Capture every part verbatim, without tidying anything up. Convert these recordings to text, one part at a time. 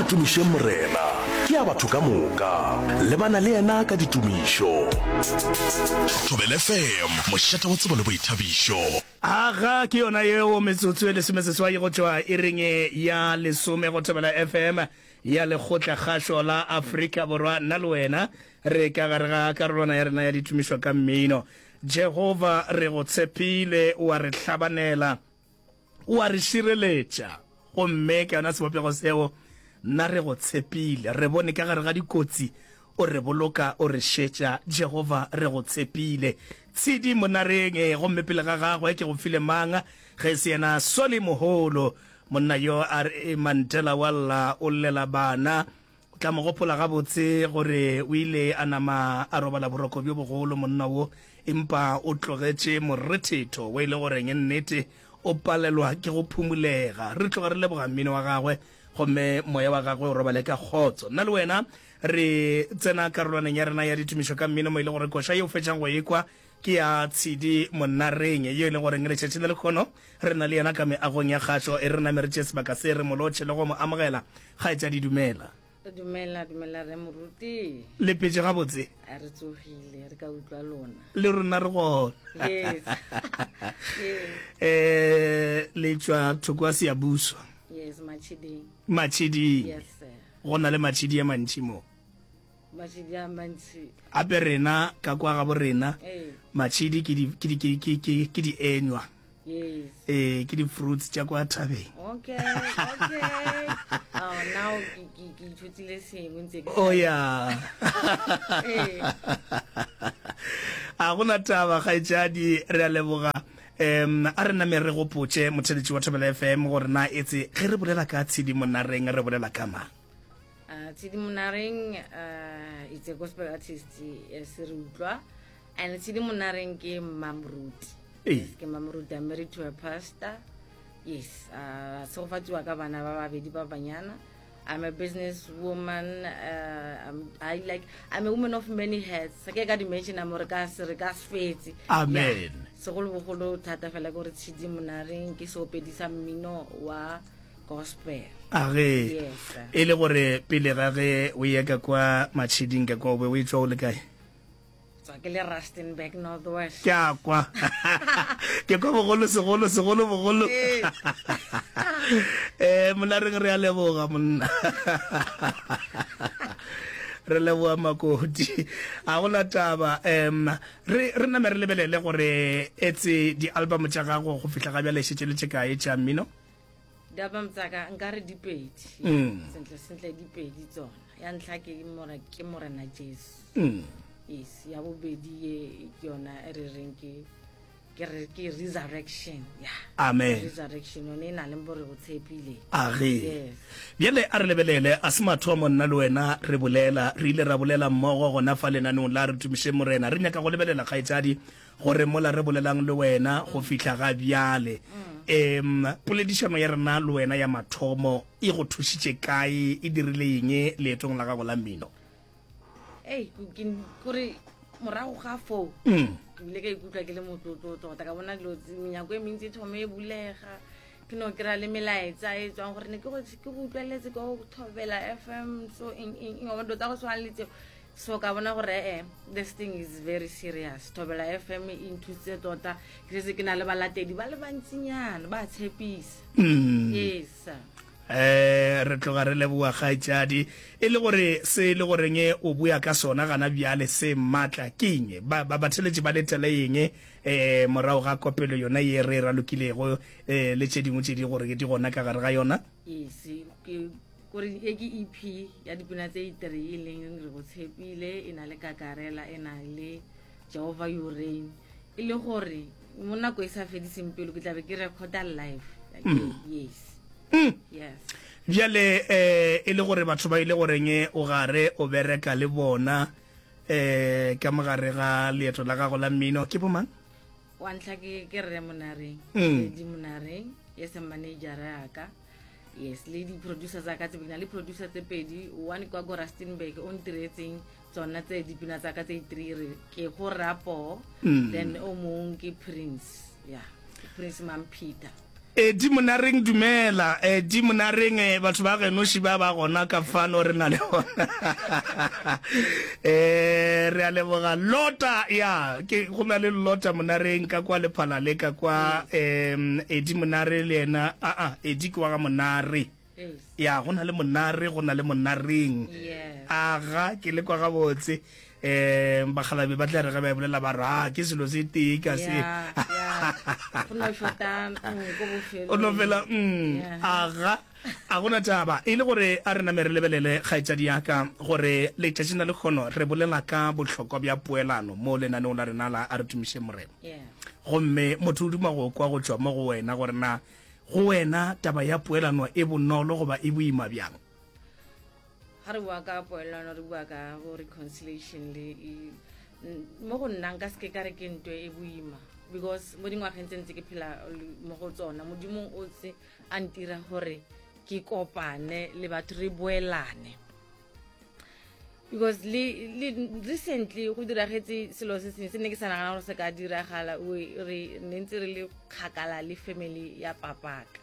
tumišeng Morena, ke ya batho ka moka. Lebana le yena ka ditumišo. Thobela F M, mošate wa tsebo le boithabišo. Aga, ke yona yeo metsotso e lesomeseswai go tšwa iring ya lesome go Thobela F M ya Lekgotla Kgašo la Afrika Borwa. Nna le wena re ka gare ga karolwana ya rena ya ditumišo ka mmino. Jehova, re go tshepile, o a re hlabanela, o a re šireletša, gomme ka yona sebopego seo nna re go tshepile. Re bone ka gare ga dikotsi o re boloka, o re šetša. Jehova, re go tshepile. Tshidi Monareng, gomme pele ga gagwe ke go file mang ge e se yena Solly Moholo, monna yo a re Mandela wa lla o llela bana. O tla mo gopola gabotse gore o ile a nama a robala boroko bjo bogolo monna wo, empa o tlogetše morethetho wo e le goreng nnete o palelwa ke go phumolega. Re tloga re leboga mmino wa gagwe, gomme moya wa gagwe o robale ka kgotso. Nna le wena re tsena karolwaneng ya rena ya ditumišo ka mmino, mo e le gore koša ye o fetšang go ekwa ke ya Tshidi Monareng, yo e le goreng letšatši le lekgono re na le yena ka meagong ya kgašo. E re name re tšee sebaka se re mo lotšhe le go mo amogela. Kgaetšadi, dumela. Dumela, dumela re moruti. Le petše gabotse? A re tsogile, re ka utlwa lona. Le rona re gona. Yes. Yes. Eh, le tšwa thoko a Siyabuswa? Yes, Machiding. Machiding. Yes, sir. Go na le matšhidi a mantši mo. Machidi a mantši. Ape rena ka kwa gabo rena Ee. matšhidi ke di ke di ke ke ke ke di enywa. Yes. Eh, ke di fruits tša kwa thabeng. Okay, okay. Oh, now ke ke ke ithutile sengwe ntse ke. Oh ya. Ee. A gona taba, kgaetšadi, re a leboga. Um a re name re gopotše motheletši wa Thobela F M gore na etse ge re bolela ka Tshidi Monareng re bolela ka mang. Uh, Tshidi Monareng uh, it's a gospel artist, yes, re utlwa. And Tshidi Monareng ke Mamruti. Ee. Yes, ke Mamruti. I'm married to a pastor. Yes, uh tshegofatsiwa ka bana ba babedi ba banyana. I'm a business woman. Uh, I'm, I like I'm a woman of many hats. Ke ka dimension mo re ka se re ka se fetse. Amen. Yeah. Segolobogolo thata fela ke gore Tshidi Monareng ke seopedi sa mmino wa gospel. A ge Yes, sir. E le gore pele ga ge o ye ka kwa Matšhiding ka kwa, o be o e tswa o le kae? Tswa ke le Rustenburg, North West. Ke a kwa, ke kwa bogolo segolo segolo bogolo. Ee. um Monareng, re a leboga monna, re leboga makoti. A gona taba. um re re name re lebelele gore etse di-album tša gago go fihla ga bjale šetše le tše kae tša mmino? Di-album tsaka nka re dipedi. Mm. Sentle sentle dipedi tsona. Ya ntlha ke more ke Morena Jesu. Mm. Yes, ya bobedi ye ke yona e re reng ke ke re ke Resurrection, ya. Amen. Resurrection yone e na le bore go tshepile. A ge. Yes. Bjale a re lebelele, a se mathomo nna le wena re bolela, re ile ra bolela mmogo gona fa lenaneong la Re Tumiše Morena. Re nyaka go lebelela, kgaetšadi, gore mola re bolelang le wena go fihla ga bjale, um poledišano ya rena le wena ya mathomo e go thušitše kae, e dirile eng leetong la gago la mmino? Ei, kore morago ga foo Mm. ke bile ka ikutlwa ke le motlotlo tota, ka bona dilo tse- menyako e mentsi e thome e bulega, ke no kry-a le melaetsa e tswang gore ne ke go ke go utlweletse ko Thobela F M, so eng eng eng, wa bona, dilo tsa go tshwana le tseo. So ka bona gore ee, this thing is very serious. Thobela F M e nthusitse tota, ke setse ke na le balatedi ba le bantsinyana, ba tshepisa. Mm. Yes, sir. eh re tloga re leboga, kgaetšadi. E le gore se e le goreng o bua ka sona gana bjale se maatla ke eng? Ba ba batheletši ba letele eng eh morago ga kopelo yona ye re e ralokilego eh le tše dingwe tše di gore di gona ka gare ga yona? Yes, ke kore e ke E P ya dipina tse three, e leng Re Go Tshepile, e na le Kakarela, e na le Jehovah You Reign. E le gore mo nako e sa fediseng pelo ke tlabe ke recorda live. Yes. Yes. Bjale eh e le gore batho ba ile goreng o gare o bereka le bona eh ka mogare ga leeto la gago la mmino ke bomang? Wa ntlha ke ke rre Monareng. Mm. Lady Monareng, yes, manager ya ka. Yes, le di-producer tsa ka tse pedi, na le producer tse pedi, one kwa ko Rustenburg o ntiretseng tsona tse dipina tsa ka tse three, re ke go rapo. Mm. Then o mong ke Prince, yeah, Prince Mampeter. Edi Monareng dumela. Edi Monareng eh, batho ba genoši ba ba gona ka fano re na le bona. Eh re a leboga Lota ya ke go na le Lota Monareng ka kwa Lephalale ka kwa em Edi Monare le yena a a Edi ke wa ga Monare. Yes. Ya go na le Monare go na le Monareng. Yes. Aga ke le kwa gabotse. Um bakgalabe ba tla re ge ba e bolela ba re "Ah, ke selo se tee ka se." Yeah, yeah. Go no shota mm, ko bofelong. O no fela mm, Yeah. aga a gona taba e le gore a re name re lebelele kgaetšadi ya ka gore letšatšing la lekgono re bolela ka bohlokwa bja poelano mo lenaneong la rena la A Re Tumišeng Morena. Yeah. Gomme motho o duma go kwa go tšwa mo go wena gore na go wena taba ya poelano e bonolo goba e boima bjang. Ga re bua ka poelano re bua ka bo reconciliation le e- n- mo go nna nka seke ka re ke ntho e boima because mo dingwageng tse ntse ke phela le- mo go tsona modimo o tse a ntira gore ke kopane le batho re boelane because le, le recently go diragetse selo se sengwe se ne ke sa nagana gore se ka diragala o- re ne ntse re le kgakala le family ya papaka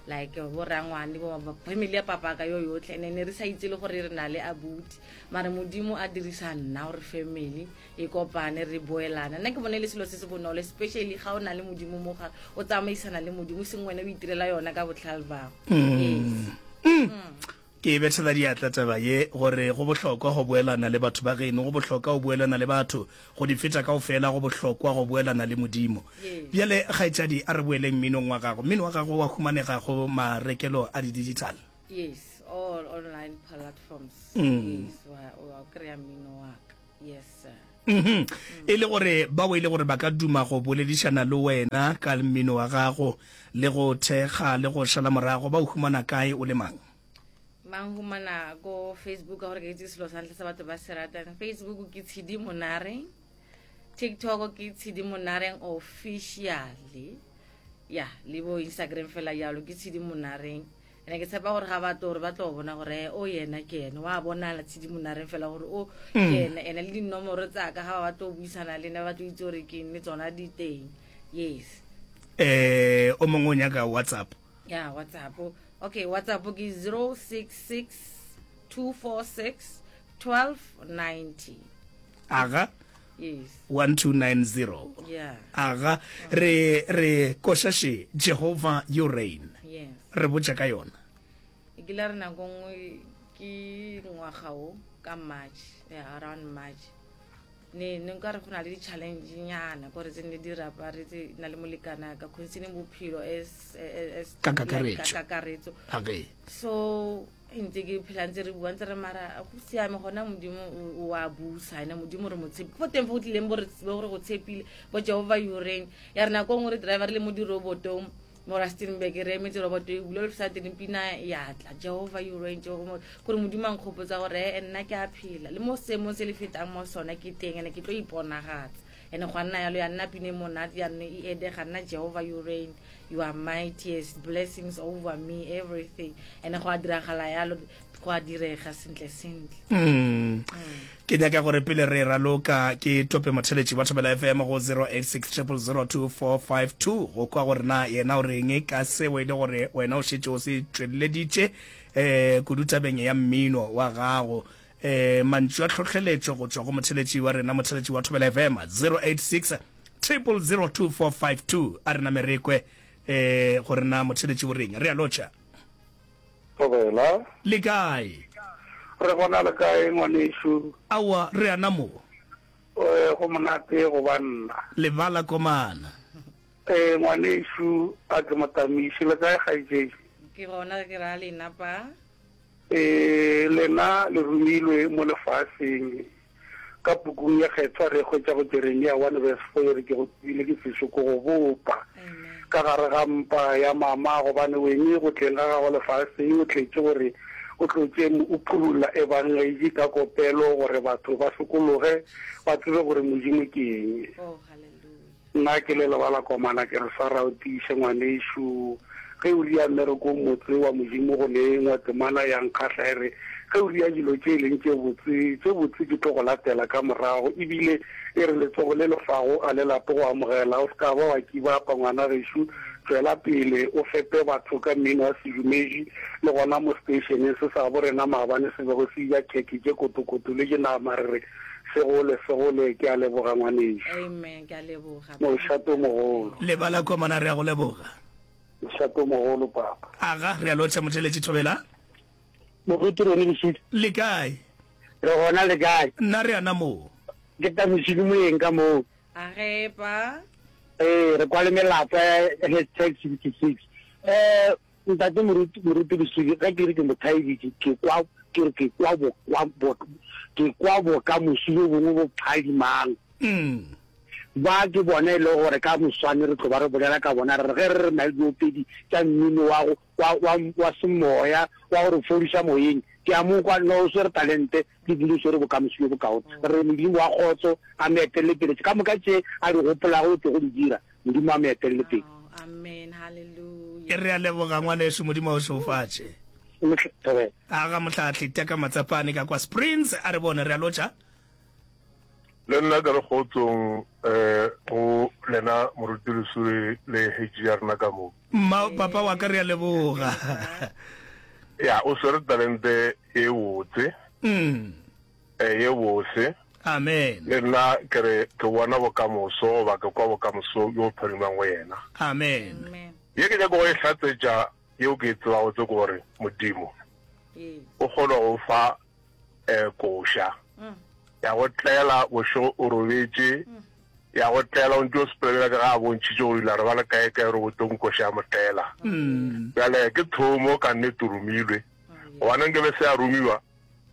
like bo rangwane bo bo- family ya papaka yo yotlhe and ne re sa itse le gore re na le abuti mare modimo a dirisa nna gore family e kopane re boelana nna ke bone le selo se se bonolo especially ga o na le modimo mo gare o tsamaisana le modimo seng wena o itirela yona ka botlhale bago yes Ke bethela diatla taba ye gore go bohlokwa go boelana le batho ba geno, go bohlokwa go boelana le batho, go di feta kaofela go bohlokwa go boelana le Modimo. Yes. Bjale kgaetšadi a re boeleng mminong wa gago. Mmino wa gago wa humanega go marekelo a di-digital. Yes, all online platforms. Mm. Yes, wa wa kry-a mmino wa ka. Yes sir. Mhm. E le gore bao e le gore ba ka duma go boledišana le wena ka mmino wa gago le go thekga le go šala morago ba o humana kae o le mang? Mang humana ko Facebook ka gore ke itse selo sa ntlha sa batho ba se ratang. Facebook ke Tshidi Monareng. TikTok ke Tshidi Monareng officially. Ya, le bo Instagram fela jalo ke Tshidi Monareng. Ene ke tshepa gore ga ba tlo gore ba tlo bona gore o yena ke ene wa bonala Tshidi Monareng fela gore o ke ene ene le dinomoro tsa ka ga ba tlo buisana le nna ba tlo itse gore ke eng le tsona di teng. Yes. Eh o mongwe o nyaka WhatsApp. Ya WhatsApp. Okay, WhatsApp ke zero six six two four six twelve ninety. Aga Yes. one two nine zero. Yeah. Aga re re košaše Jehovah you reign. Yes. Re botša ka yona. E kile re nako nngwe ke ngwaga o ka March, yeah, around March. Ne ne nka re go na le di-challenge nyana kore tse ne di raparetse nna le molekane ka concerning bophelo as as Ka kakaretso. ka kakaretso. Age. So ntse ke phela ntse re bua ntse re mara go siame gona modimo o o a busa ene modimo re mo tshepe fo teng fo go tlileng bo re bo re go tshepile bo Jehovah you reign ya re nako nngwe re driver re le mo dirobotong mo Rustenburg re emetse roboto e bula le sa teng pina ya tla Jehovah you reign Jehovah gore modimo a nkgopotsa gore eh, nna ke a phela le mo seemong se le fetang mo sona ke teng ene ke tlo iponagatsa ene go a nna yalo ya nna pina e monate ya nne e edega nna Jehovah you reign you are mightiest blessings over me everything ene go a diragala yalo go a direga sentle sentle. Mm. Ke nyaka gore pele re raloka ke tope motheletši wa Thobela F M go zero eight six triple zero two four five two go kwa gore na yena o reng ka seo e le gore wena o šetše o se tšweleditše eh kudu tabeng ya mmino wa gago. Eh mantšu a tlhohleletšo go tšwa go motheletši wa rena motheletši wa Thobela F M zero eight six triple zero two four five two a rena merekwe eh gore na motheletši o reng. Re a lotšha. Thobela. Le kae? Re gona le kae ngwanešu? Aowa re ana mo. Eh go monate go ba nna. Lebala komana. Eh ngwanešu a ke motamiši le kae kgaetšedi? Ke gona ke ra lena pa. Eh lena le romilwe mo lefaseng ka pukung ya kgethwa re hwetša go Jeremia one verse four re ke go tsebile ke sešo ko go bopa. Amen. Ka gare ga mpa ya mama gobane wene go tleng ga gago lefaseng o tletse gore o tlotse o phurula ebangedi ka kopelo gore batho ba sokologe ba tsebe gore modimo ke eng. Oh hallelujah. Nna ke le lebala komana ke re swara o tiiše ngwanešu ge o ria mmereko motse wa modimo go nengwa temana ya nkgahla e re ge o ria dilo tše e leng tše botse tše botse di tlo go latela ka morago ebile e re letsogo le lefago a le lape go amogela o se ka ba wa kibapa ngwana gešo Tšwela pele o fepe batho ka mmino wa sedumedi, le gona mo seteišeneng se sa gabo rena maabane se bego se ja khekhe tše kotokoto le tše nama re re se gole se gole. Ke a leboga ngwanešu. Amen, ke a leboga. Mošate o mogolo. Lebala komana re a go leboga. Mošate o mogolo papa. Aga, re a lotšha motheeletši Thobela. Moruti Rony Lesudi. Le kae? Re gona le kae? Nna re ana moo. Ke Tamisile Moeng ka moo. A ge pa. Ee, re kwa le melapa ya hashtag sixty six. Eh, ntate Moruti, Moruti Lesudi, ge ke re ke mo thaeditše, ke kwa, ke re ke kwa bo, kwa bo, ke kwa bokamoso bjo bongwe bo phadimang. Mm. Ba ke bona e le gore ka moswane re tlo ba re bolela ka bona, re re ge re re na le diopedi tša mmino wa go, wa, wa, wa semoya, wa go re fodiša moyeng, ke a mo kwa, no o swere talente, le bile o swere bokamoso bjo bokaone. Re re Modimo wa kgotso a mo etelele pele, ka moka tše a di gopolago o tlo go di dira, Modimo a mo etelele pele. Oh, amen, hallelujah. Re a leboga ngwanešu, Modimo a o šegofatše. Thobela. Aga mohlahli Teka Matsapane ka kwa Springs, a re bone, re a lotša. Le nna ke re kgotsong um go lena Moruti Lesuri le H ya rena ka mo. Mma papa wa ka re a leboga. Ya o swere talente e botse. Mm. Eh, ye bose. Amen. Le nna ke re ke bona bokamoso goba ke kwa bokamoso yo pharimang go yena. Amen. Amen. Ye ke nyaka go e hlatsetša yeo ke e tsebago tse ke gore Modimo Ee. o kgona go fa eh koša. Mm. Ya go tlela bošego o robetše, ya go tlela o ntse o sepela ka ga a bontšhitše gore ile re ba le kae kae robotong koša ya mo tlela. Mm. Bjale ke thomo ka nnete romilwe. Gobane nke be se a romiwa,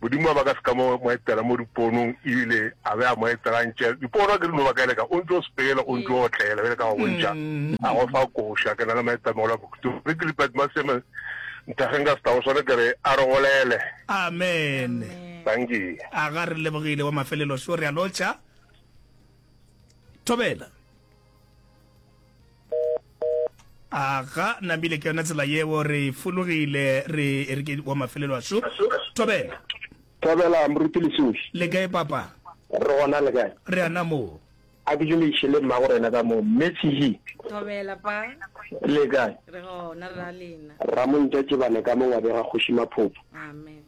Modimo a ba ka se ka mo mo etela mo diponong ebile a be a mo etela ntše dipono ke dino ba ka leka o ntse o sepela o ntse o otlela bjale ka go bontšha a go fa koša. Ke na le maitemogelo a bokhutlo re ke lipet maseme nthageng ka setao sone ke re a re golele. Amen. Thank you. A ga re lebogile wa mafelelo šo re a lotšha. Thobela. A ga namile ke yona tsela yeo re fologile re re ke wa mafelelo a šo. Thobela. Thobela Moruti Lesudi. Le kae papa? Re gona le kae? Re ana moo. A ke dumediše le mmago rena ka moo, mme Tshihi. Thobela pa. Le kae? Re gona re ra lena. Ramontša Tšebane ka mo ngwabega Kgoši Maphopho. Amen.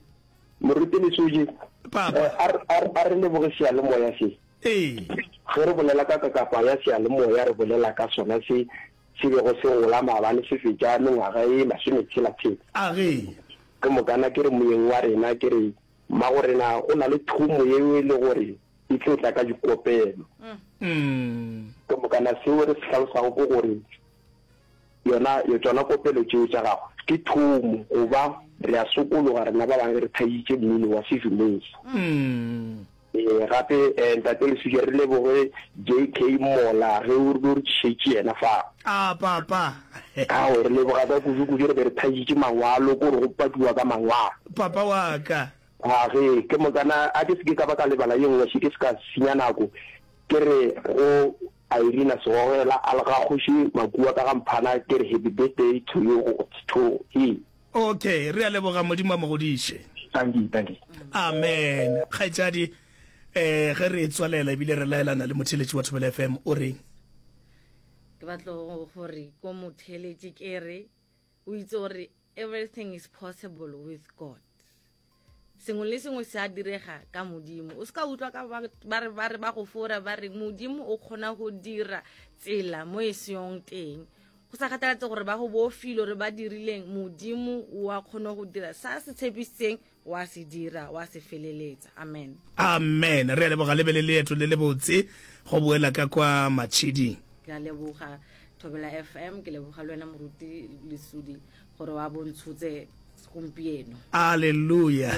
Moruti Lesudi. Papa. Eh, a re, a re leboge seyalemoya se. Ee. Ge re bolela ka kakapa ya seyalemoya re bolela ka sona se se bego se gola maabane se fetša mengwaga e masometshela-tshela. A ge. Ke mokana ke re moyeng wa rena ke re mmago rena go na le thomo yeo e le gore e tlo tla ka dikopelo. Mm. Ke mokana seo re se hlalosago ke gore yona tšona kopelo tšeo tša gago ke thomo goba re a sokologa rena ba bangwe re thaeditše mmino wa sedumedi. Mm. Ee, gape eh, ntate Lesudi re leboge J K Mola ge o re tlišetše yena fa. A papa. Ao re leboga ka kudu kudu re be re thaeditše mangwalo ko re go pakiwa ka mangwalo. Papa wa ka. A ge ke mokana a ke se ke ka ba ka lebala ye nngwe se ke se ka senya nako ke re go Irina Segogela a le ga kgoši Makua ka ga Mphana ke re happy birthday to you to him. Okay, re a leboga Modimo a mo godiše. Thank you, thank you. Amen. Kgaetšadi eh ge re tswalela ebile re laelana le motheletši wa Thobela F M o reng? Ke batla gore ko motheletši ke re o itse gore everything is possible with God. Sengwe le sengwe se a direga ka Modimo. O se ka utlwa ka ba re ba re ba go fora ba re Modimo o kgona go dira tsela mo e seyong teng. Go sa kgathalatse gore ba go bofile gore ba dirileng, Modimo o a kgona go dira sa se tshepisitseng wa se dira, wa se feleletsa. Amen. Amen. Re a leboga le be le leeto le le botse go boela ka kwa Matšhiding. Ke a leboga Thobela F M, ke leboga le wena Moruti Lesudi gore wa bontshotse gompieno. Hallelujah.